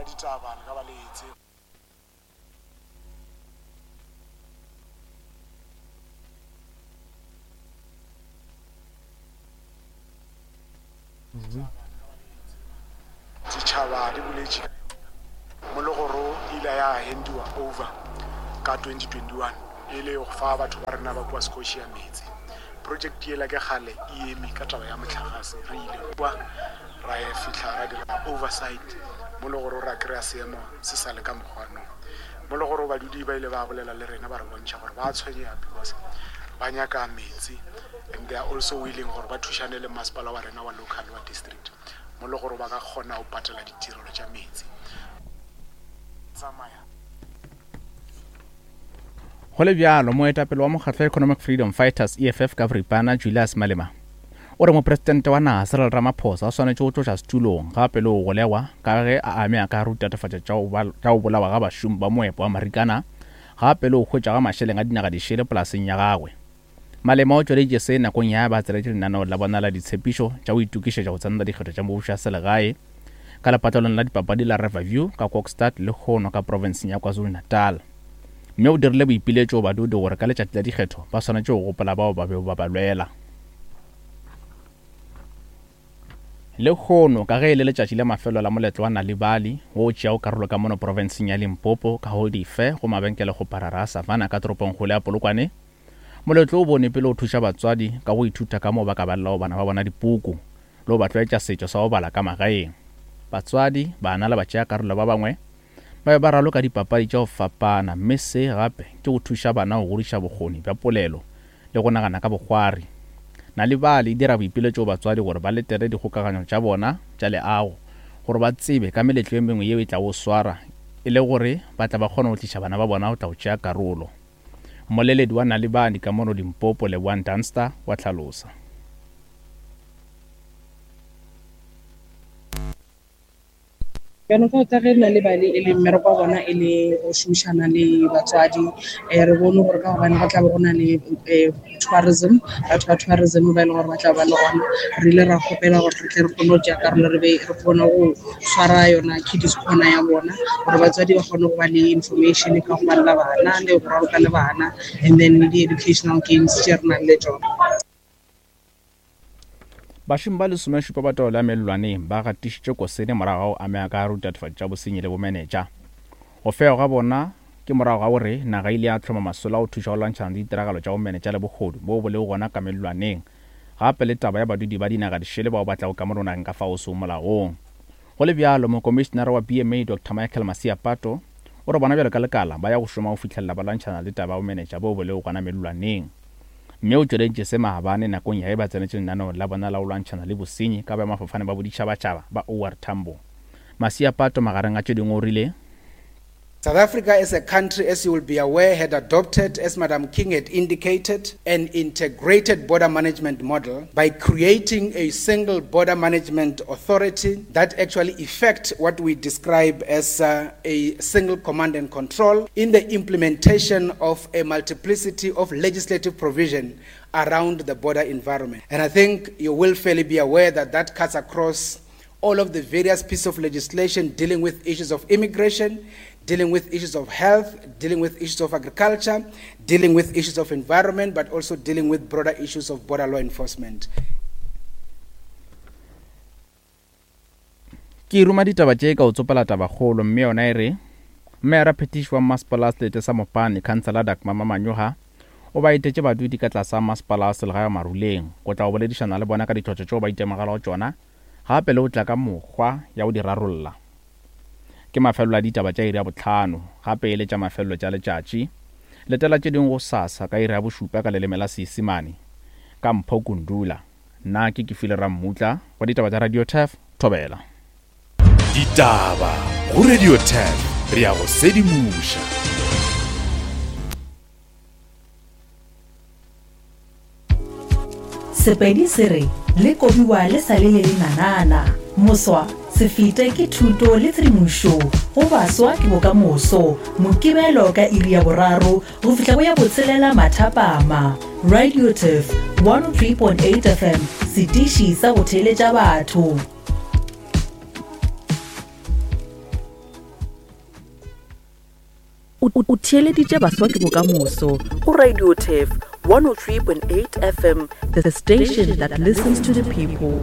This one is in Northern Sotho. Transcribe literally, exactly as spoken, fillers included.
ditaba le ka ba le etse ditšhaba di boletše mo le gore ile ya handiwa over ka twenty twenty-one e le go fa batho ba rena ba kua Scotia meetse. Project yela ke kgale e eme ka taba ya motlakase, re ile kua ra e fihla ra dira oversight mo le gore ra kry-a seemo se sa le ka mokgwanong. Mo le gore badudi ba ile ba bolela le rena ba re bontšha gore ba tshwenyega because ba nyaka metsi and they are also willing gore ba thušane le masepala wa rena wa local wa district mo le gore ba ka kgona go patela ditirelo tša metsi. Tsamaya. Go le bjalo, moetapele wa mokgatlo Economic Freedom Fighters E F F ka boripana Julius Malema o re mopresidente wa naga Cyril Ramaphosa o swanetše go tloša setulong gape le go golegwa ka ge a ame a ka rutatafatša tša go bolawa ga bašomi ba moepo wa Marikana gape le go hwetša ga mašeleng a dinaga dišele polaseng ya gagwe. Malema o tšweleditše se nakong ya ba tseletše lenaneo la bona la ditshepišo tša go itokišetša go tsenela dikgetho tša mebušo ya selegae ka lepatlelong la dipapadi la Riverview ka Kokstad le Hono ka profenseng ya KwaZulu-Natal. Mme o dirile boipiletšo badudi gore ka letšatši la dikgetho ba swanetše go gopola bao ba bego ba ba lwela. Le hono ka ge e le letšatši la mafelo la moletlo wa Nalibali wo o tšeago karolo ka mono profenseng ya Limpopo ka go dife go mabenkele go parara a Savannah ka toropongkgolo ya Polokwane, moletlo o bone pele o thuša batswadi ka go ithuta ka moo ba ka balelago bana ba bona dipuku le go ba tlwaetša setšo sa go bala ka magaeng. Batswadi, bana le batšeakarolo ba bangwe ba be ba raloka dipapadi tša go fapana, mme se gape ke go thuša bana go godiša bokgoni bja polelo le go nagana ka bokgwari. Nalibali e dira boipiletšo go batswadi gore ba letele dikgokaganyo tša bona tša leago gore ba tsebe ka meletlo e mengwe yeo e tlago swara e le gore ba tla ba kgona go tliša bana ba bona go tla go tšea karolo. Mmoleledi wa Nalibali ka mono Limpopo Leboang Dunster wa hlalosa. Bjalo ka ka ge Nalibali e le mmereko wa bona e le go šomišana le batswadi, re bone gore ka gobane go tla be go na le tourism, batho ba tourism ba e leng gore ba tla ba le gona, re ile ra kgopela gore re tle re kgone go tšea karolo, re be re kgone go swara yona kiddies corner ya bona gore batswadi ba kgone go ba le information ka go balela bana le go raloka le bana, and then le di-educational games tše re nang le tšona. Bašomi ba lesomešupa ba taolo ya mellwaneng ba gatišitše kosene morago ga go amega ka rutatafatšo tša bosenyi le bomenetša. Go fega ga bona ke morago ga gore naga ile ya hloma masolo a go thuša go lwantšhana le ditiragalo tša bomenetša le bohodu bo bo lego gona ka mellwaneng, gape le taba ya badudi ba dinaga dišele bao ba tlago ka mono nageng ka fao seo molaong. Go le bjalo, mokomišenara wa B M A Doctor Michael Masiapato o re bona bjalo ka lekala ba ya go šoma go fihlelela ba lwantšhana le taba ya bomenetša bo bo lego gona mellwaneng. Mme o tšweleditše se maabane nakong ya ge ba tsenetše lenaneo la bona la go lwantšhana le bosenyi ka boemafofane ba boditšhabatšhaba ba O R Tambo. Masiapato magareng a tše dingwe o rile, South Africa as a country, as you will be aware, had adopted, as Madam King had indicated, an integrated border management model by creating a single border management authority that actually effect what we describe as, uh, a single command and control in the implementation of a multiplicity of legislative provision around the border environment. And I think you will fairly be aware that that cuts across all of the various pieces of legislation dealing with issues of immigration, dealing with issues of health, dealing with issues of agriculture, dealing with issues of environment, but also dealing with broader issues of border law enforcement. Ke ruma ditaba tše ka o tsopela tabakgolo, mme yona e re mmeara phetiši wa masepala wa selete sa Mopani, Councillor Dagmar Mamanyoha, o ba etetše badudi ka tlase ga masepala wa selegae wa Maruleng go tla go boledišana le bona ka ditlhotlo tšeo ba itemogelago tšona, gape le go tla ka mokgwa ya go di rarolla. Ke mafelelo a ditaba tša iri ya bohlano, gape e le tša mafelelo tša letšatši. Letela tše dingwe go sasa ka iri ya bošupa ka leleme la Seisemane ka Mpho Kundula. Nna ke Kefile Rammutla wa ditaba tša Radio Turf, Thobela. Ditaba go Radio Turf, re ya go sedimoša. Sepedi se re le kobiwa le sa le le lenanana. Moswa se fete ke thuto le tshedimošo go baswa ke bokamoso. Mokibelo ka iri ya boraro go fihla go ya botshelela mathapama. Radio Turf one oh three point eight F M, setiši sa go theeletša batho. O theeleditše Baswa ke Bokamoso go Radio Turf one oh three point eight F M, the station that listens to the people.